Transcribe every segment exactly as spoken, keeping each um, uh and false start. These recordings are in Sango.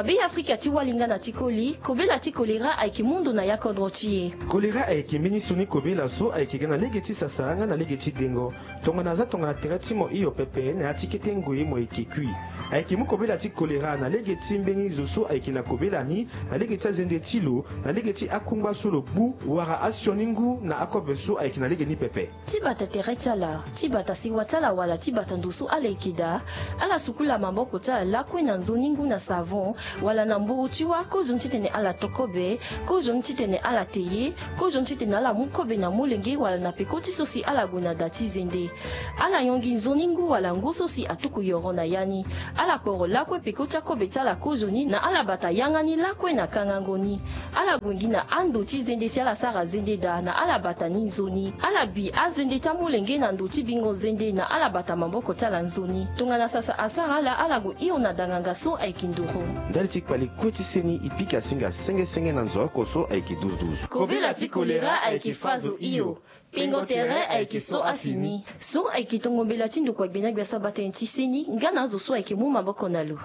Abe Afrika ti wali nga na ti koli, kobela ti kolera ayeke mu ndo na ya kodro ti e. Kolera ayeke mbeni sioni kobela so ayeke ga na lege ti sasara nga na lege ti dengo. Tongana aza tongana tere ti mo hio pepe na ya ti kete ngoi mo yeke kui. Ayeke mu kobela ti kolera na lege ti mbeni zo so ayeke na kobela ni, na lege ti azende ti lo, na lege ti akungba so lo gbu, wala asioni ngu na akobe so ayeke na lege ni pepe. Ti bata tere ti ala, ti bata sewa ti ala wala ti bata ndo so ala yeke daa, ala sukula maboko ti ala lakue na nzoni ngu na savon, wala na mburu ti wâ, kozoni titene ala to kobe, kozoni titene ala te ye, kozoni titene ala mu kobe na molenge wala na peko ti so si ala gue na da ti zende. Ala yongi nzoni ngu wala ngu so si atuku yoro na ya ni. Ala kporo lakue peko ti akobe ti ala kozoni na ala bata yanga ni lakue na kangango ni. Ala gue gi na ando ti zende si ala sara zende daa na ala bata ni nzoni. Ala bi azende ti amolenge na ndo ti bingo zende na ala bata maboko ti ala nzoni. Tongana sasa asara ala, ala gue hio na danganga so ayeke nduru. Ndali ti kpale kue ti seni, e pika singa senge senge na nzo oko so ayeke duzu duzu. Kobela ti kolera ayeke fa zo hio. Pengo tere ayeke so afini. So ayeke tongo mbela ti ndokua gbenagbe so abaa tënë ti seni nga na azo so ayeke mu maboko na lo.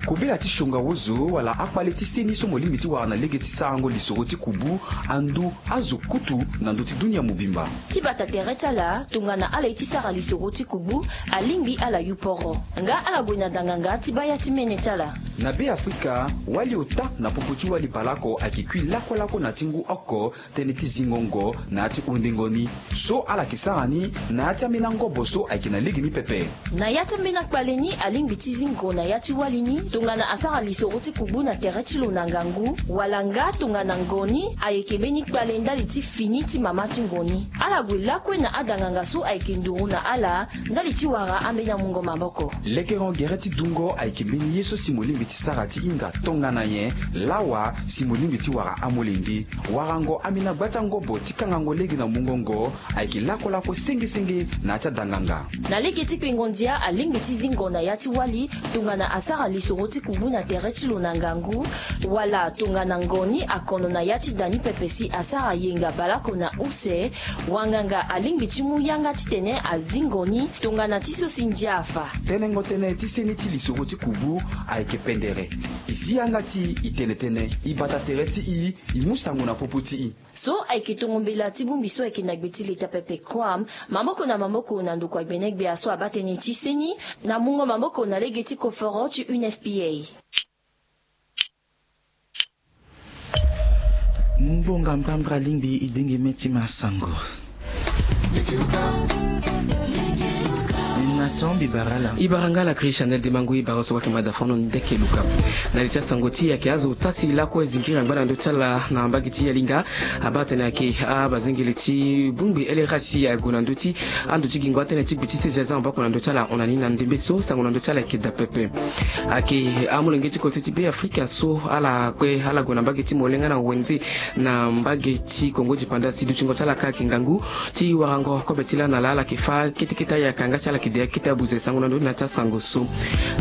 Kobela ti sionga wozo wala akpale ti seni so mo lingbi ti wara na lege ti sarango lisoro ti kubu, andu azo kutu na ndö ti dunia mobimba. Ti bata tere ti ala, tongana ala ye ti sara lisoro ti kubu, alingbi ala yu poro. Nga ala gue na danganga ti baa ya ti mene ti ala. Na Be Afrika, wali ota na popo ti wali baleoko ayeke kui lakue lakue na ti ngu oko, tënë ti zingo ngo na ya ti hundengo ni. So ala yeke sara ni na ya ti ambeni angobo so ayeke na lege ni pepe. Na ya ti ambeni akpale ni, alingbi ti zingo na ya ti wali ni, tongana asara lisoro ti kubu na tere ti lo na ngangu, wala nga tongana ngo ni ayeke mbeni kpale ndali ti fini ti mama ti ngo ni. Ala gue lakue na adanganga so ayeke nduru na ala, ndali ti wara ambeni amungo maboko. Lekerengo gere ti dungo ayeke mbeni ye so si mo lingbi ti sara ti hinga tongana nyen lawa si mo lingbi ti wara amolenge. Warango ambeni agba ti angobo ti kangango lege na mungo ngo ayeke lakue lakue senge senge na ya ti adanganga. Na lege ti kpengo ndia, alingbi ti zingo na ya ti wali, tongana asara lisoro ti kubu na tere ti lo na ngangu, wala tongana ngo ni akono na ya ti da ni pepe si asara yenga baleoko na use, wanganga alingbi ti mu yanga titene azingo ni tongana ti so si ndia afa. Tenengo tënë ti seni ti lisoro ti kubu ayeke pendere. E si yanga ti e, e tene tënë, e bata tere ti e, e mu sango na popo ti e. So ayeke tongo mbela ti bongbi so ayeke na gbe ti leta pepe, Croam, maboko na maboko na ndokua gbenegbe aso abaa tënë ti seni, na mungo maboko na lege ti koforo ti U N F P A. Mbonga mbrambra alingbi e denge me ti masango. Na tombi barala. E bara nga la Christianel Dimangu, e bara so wake mada fono ndeke luka. Na li ti asango ti e ayeke azo tasi lakue zingiri angba na ndö ti ala na mbage ti Yalinga. Abaa tene ayeke abazengele ti bongbi L R A si ague na ndö ti ando ti gingo atene ti gbe ti sese aza maboko na ndö ti ala ahon na ni na ndembe so sango na ndö ti ala ayeke daa pepe. Ayeke amolenge ti kote ti Be Afrika so ala kue ala gue na mbage ti molenge na wende na mbage ti Kongo dipanda si dutingo ti ala ka ayeke ngangu ti warango kobe ti laa na laa ala yeke fâ kete kete ayaka nga si ala yeke de kete abuze sango na ndö ni na ti asango so.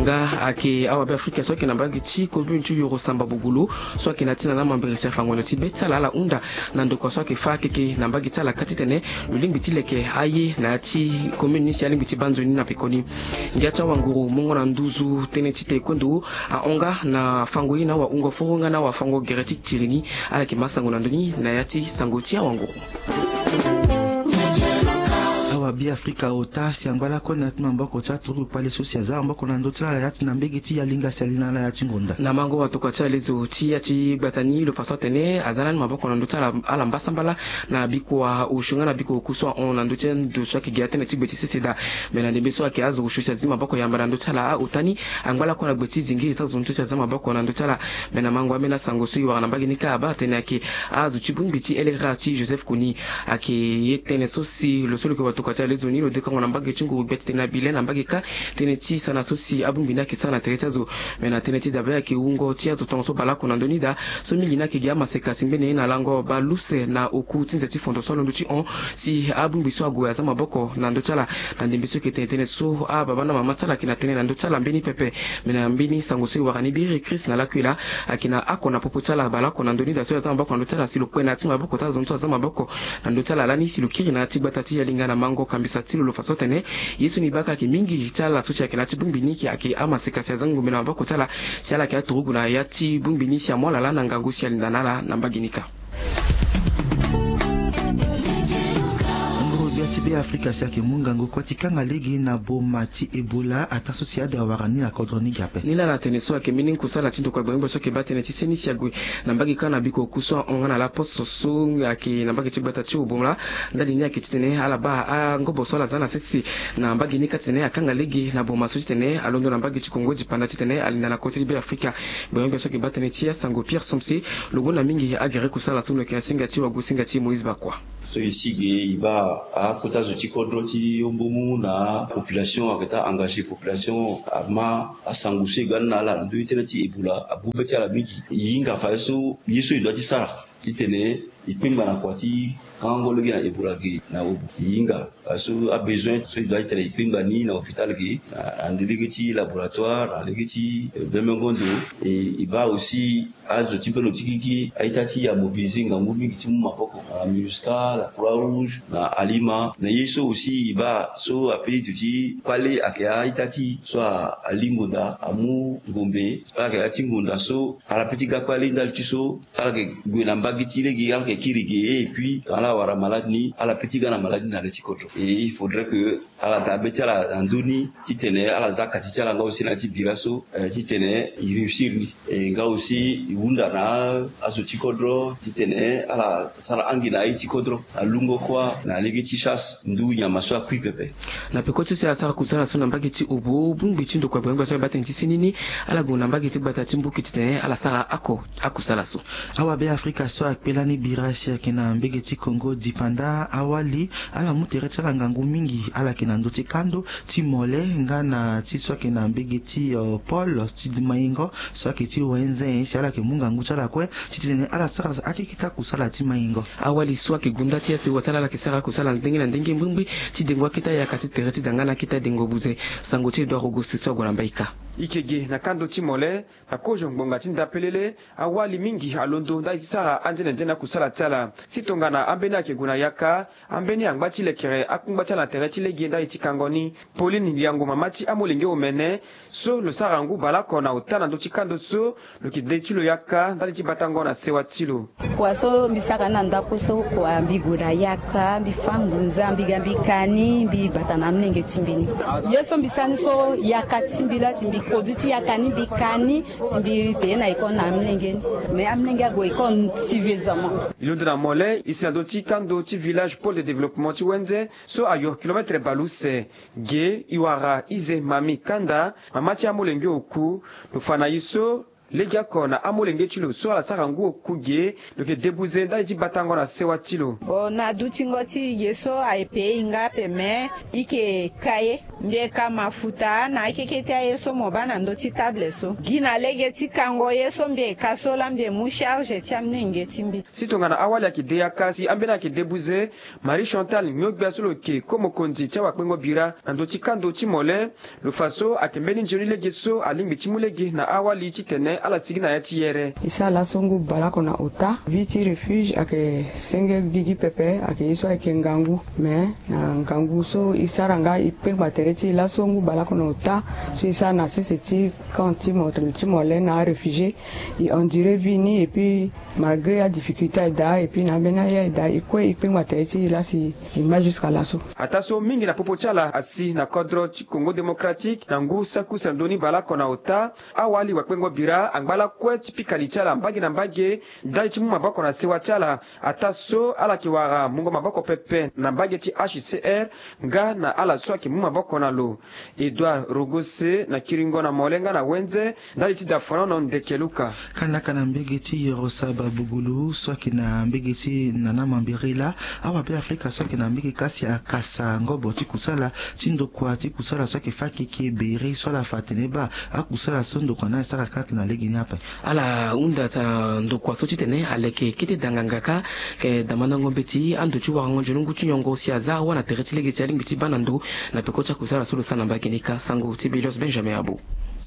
Nga ayeke awabe Afrika so ayeke na mbage ti commune ti Yoro Samba Bogolo so ayeke na ya ti na na mambere si afa ngonda ti be ti ala ala hunda na ndokua so ayeke fâ keke na mbage ti ala ka titene lo lingbi ti leke aye na ya ti commune ni si alingbi ti baa nzoni na pekoni. Ngia ti awanguru mungo na nduzu tënë ti taekwondo ahon nga na fango ye na awahungo foro nga na awafango gere ti tiri ni. Ala yeke ma sango na ndö ni na ya ti sango ti awanguru. Awabe Afrika ota si angba lakue na ya ti maboko ti aturugu kpale so si aza maboko na ndö ti ala ya ti na mbage ti Yalinga si ali na ala ya ti ngonda. Na mango watokua ti alezo ti ya ti gbata ni lo fa so atene aza lani maboko na ndö ti ala, ala mbasambala na bikua osio nga na bikua oku so ahon na ndö ti ando so ayeke gi atënë ti gbe ti sese daa. Me na ndembe so ayeke azo osio si azi maboko yamba na ndö ti ala aota ni angba lakue na gbe ti zingiri ti azo ntu si aza maboko na ndö ti ala. Me na mango ambeni asango so e wara na mbage ni kâ abaa atene ayeke azo ti bongbi ti L R A ti Joseph Kony. Ayeke ye tënë so si lo so lo yeke watokua ti alezo ni lo dekango na mbage ti nguru gbia titene na Bilen na mbage kâ tënë ti sana so si abongbi ni ayeke sara na tere ti azo. Me na tënë ti dabe ayeke wungo ti azo tongaso baleoko na ndö ni daa so mingi ni ayeke gi amaseka si ngbene na lango baleuse na oku ti nze ti fondo so alondo ti hon si abongbi so ague aza maboko na ndö ti ala. Na ndembe so e yeke tene tënë so ababa na mama ti ala ayeke na tënë na ndö ti ala mbeni pepe. Me na mbeni sango so e wara ni biri Christ na lakue laa ayeke na oko na popo ti ala baleoko na ndö ni daa so e aza maboko na ndö ti ala si lo kue na ya ti maboko ti azo ni so aza maboko na ndö ti ala lani si lo kiri na ya ti gbata ti Yalinga na mango Kambisa ti lo lo fa so atene ye so ni baa ka ayeke mingi ti ala so si ayeke na ya ti bongbi ni ayeke amaseka si aza ngombe na maboko ti ala, si ala yeke aturugu na ya ti bongbi ni si amu ala laa na ngangu si alinda na ala na mbage ni kâ. Nguru-gbia ti Beafrika si ayeke mu ngangu kue ti kanga lege na boma ti Ebola ataa so si ade awara ni na kodro ni ge ape. Ni laa ala tene so ayeke mbeni kusala ti ndokua gbengbe so ayeke baa tënë ti seni si ague na mbage kâ na biko oku so ahon nga na laposo so ayeke na mbage ti gbata ti Obola. Ndali ni ayeke titene ala baa angobo so ala za na sese na mbage ni kâ titene akanga lege na boma so titene alondo na mbage ti Kongo dipanda titene alinda na kota ti Beafrika. Gbengbe so ayeke baa tënë ti asango Pierre Somse. Lo gonda mingi agere kusala so lo yeke na singa ti wagosinga ti Moïse Bakwa. So e si ge e baa akota zo ti kodro ti hombomu na apopulation ayeke taa engagé population ama asango so e ga ni na ala na ndö ti tënë ti Ebola abu be ti ala mingi. E hinga fa ye so ye so e dua ti sara titene e kpengba na kua ti kangango lege na Ebola ge na Obo. E hinga fa so abesoin so e dua titene e kpengba ni na hôpital ge na, na lege ti laboratoire na lege ti, eh, bembengo ndo. E, e baa aussi azo ti mbeni lo ti gigi a-ita ti e amobilisé ngangu mingi ti mu maboko na MINUSCA, la Croix Rouge, na Alima. Na ye so aussi e baa so ape ti duti kpale ayeke a-ita ti e so a, alingonda amu ngombe. Ala yeke ya ti ngonda so ala pe ti ga kpale ndali ti so ala yeke gue na mbage ti lege ala yeke kiri ge. Et puis tongana ala wara malade ni ala pe ti ga na malade ni na le ti kodro. Et il faudrait que ala daa be ti ala na ndö ni titene ala za kati ti ala nga aussi na ya ti bira so, eh, titene e réussir ni. E nga aussi e hunda na azo ti kodro titene ala sara angi na aye ti kodro na lungo kuâ na lege ti chasse ndu nyama so akui pepe. Na peko ti so si asara kusala so na mbage ti Obo, bongbi ti ndokua gbengbe so ayeke baa tënë ti seni ni ala gue na mbage ti gbata ti Mboki titene ala sara oko akusala so. Awabe Afrika so akpe lani bira si ayeke na mbage ti Kongo dipanda awali ala mu tere ti ala ngangu mingi. Ala yeke na ndö ti kando ti mole nga na ti so ayeke na mbage ti, eh, pôle ti maingo so ayeke ti wenze si ala yeke mu ngangu ti ala kue titene ala sara akete ti akusala ti maingo. Awali so ayeke gunda ti asewa ti ala ala yeke sara akusala ndenge na ndenge mbirimbiri ti dengo akete ayaka ti tere ti dangana akete adengo buze. Sango ti Edouard Auguste so ague na mbaika. E yeke ge na kando ti mole na kozo ngbonga ti ndapelele, awali mingi alondo ndali ti sara anzenenzene akusala ti ala. Si tongana ambeni ayeke gue na yaka, ambeni angba ti lekere akungba ti ala na tere ti lege ndali ti kango ni. Pauline Liango, mama ti amolenge omene so lo sara ngu baleoko na ota na ndö ti kando so, lo yeke de ti lo yaka ndali ti batango na sewa ti lo. Kua so mbi sara ni na ndako so kua mbi gue na yaka, mbi fâ ngunza, mbi ga mbi ka ni, mbi bata na amolenge ti mbi ni. Ye so mbi sara ni so yaka ti mbi laa si mbi produit ti yaka ni mbi ka ni, si mbi paye na école na amolenge ni. Mais amolenge ague école suffisamment. E londo na mole e si na ndö ti kando ti village pôle de développement ti wenze so ayo kilomètre baleuse. Ge e wara Ize Mami Kanda, mama ti amolenge oku. Lo fa na e so legeoko na amolenge ti lo so ala sara ngu oku ge, lo yeke de buze ndali ti batango na sewa ti lo. Bon, na dutingo ti e ge so aye paye e nga ape, mais e yeke ka ye. Mbi yeke ka mafuta na akeke ti aye so mo baa na ndö ti table so. Gi na lege ti kango ye so mbi yeke ka so laa mbi yeke mu charge ti amolenge ti mbi. Si tongana awali ayeke de yaka si ambeni ayeke de buze, Marie Chantal Niogbia so lo yeke ko mokonzi ti awakpengo bira na ndö ti kando ti mole, lo fa so ayeke mbeni nzoni lege so alingbi ti mu lege na awali titene ala sigi na ya ti yere. E sara laso ngu baleoko na ota. Vie ti refuge ayeke senge gigi pepe, ayeke ye so ayeke ngangu. Mais na ngangu so e sara nga e kpengba tere ti e laso ngu baleoko na ota so e sara na sese ti camp ti mo, ti mole na aréfugié. E enduré vie ni et puis malgré adifficulté aye daa et puis na ambeni aye aye daa, e kue e kpengba tere ti e laa si e ma jusqu'à laso. Ataa so mingi na popo ti ala asi na kodro ti Congo Démocratique na ngu saki use na ndoni baleoko na ota. Awali wakpengo bira angba lakue ti pika li ti ala mbage na mbage ndali ti mu maboko na sewa ti ala. Ataa so ala yeke wara mungo maboko pepe na mbage ti H C R nga na ala so ayeke mu maboko na lo. Edouard Rogose na kiringo na mole nga na wenze ndali ti dafanono ndeke luka. Kandaka na mbage ti Yorosa Babugulu so ayeke na mbage ti Nana Mambirila, awabe Afrika so ayeke na mbage kâ si akasa ngobo ti kusala ti ndokua ti kusala so ayeke fâ keke bere so ala fa atene baa akusala so ndokua ni asara kâ ayeke na lege ni ape. Ala hunda tana ndokua so titene aleke kete danganga kâ, eh, damandango mbeti ando ti warango nzoni ngu ti nyongo si aza awa na tere ti lege si alingbi ti baa na ndo na peko ti akusala so lo sara na mbage ni kâ. Sango ti Belios Benjamin Abo.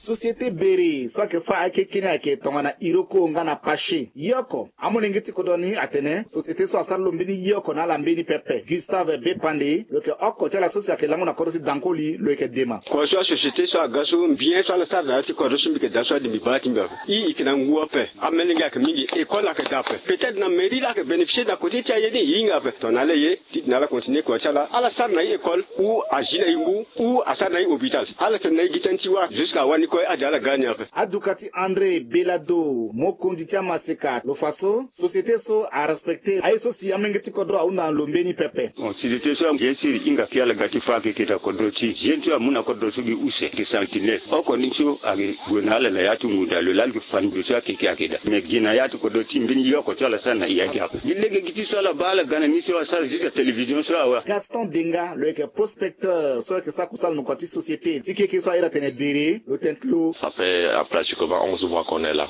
Société bere so ayeke fâ akeke ni ayeke tongana iroko nga na pache yoko. Amolenge ti kodro ni atene société so asara lo mbeni yoko na ala mbeni pepe. Gustave Bepande lo yeke oko ti ala so si ayeke lango na kodro ti dankoli lo yeke dema. Kua so asociété so aga so mbien so ala sara na ya ti kodro so mbi yeke daa so ade mbi baa ti mbi ape. I yeke na ngu ape. Amelenge ayeke mingi, école ayeke daa ape. Peut-être na mairie la ayeke bénéficier na côté ti aye ni e hinga ape. Tongana ala ye titene ala continuer kua ti ala ala sara na i école ou azi na i ngu ou asara na i hôpital. Ala tene na i gi tënë ti wâ jusqu'à wani kue ade ala ga ni ape. Aduka ti André Belado, mokonzi ti amaseka, lo fa so société so arespecter aye so si amolenge ti kodro ahunda na lo mbeni pepe. Bon, société so bien sûr e hinga kue ala ga ti fâ akeke na kodro ti e. Jeune so amu na kodro so gi use gi sentinelle oko ni so ayeke gue na ala na ya ti ngu daa lo laa lo yeke fa ndo so akeke ayeke daa. Mais gi na ya ti kodro ti e mbeni yoko so ala sara na e ayeke ape. Gi lege gi ti so ala baa ala ga na ni so asara juste télévision so awe. Gaston Denga lo yeke prospecteur so ayeke sara kusala na kua ti société ti keke so airi atene bere lo tene ti lo. Ça fait, euh, pratiquement onze mois qu'on est là.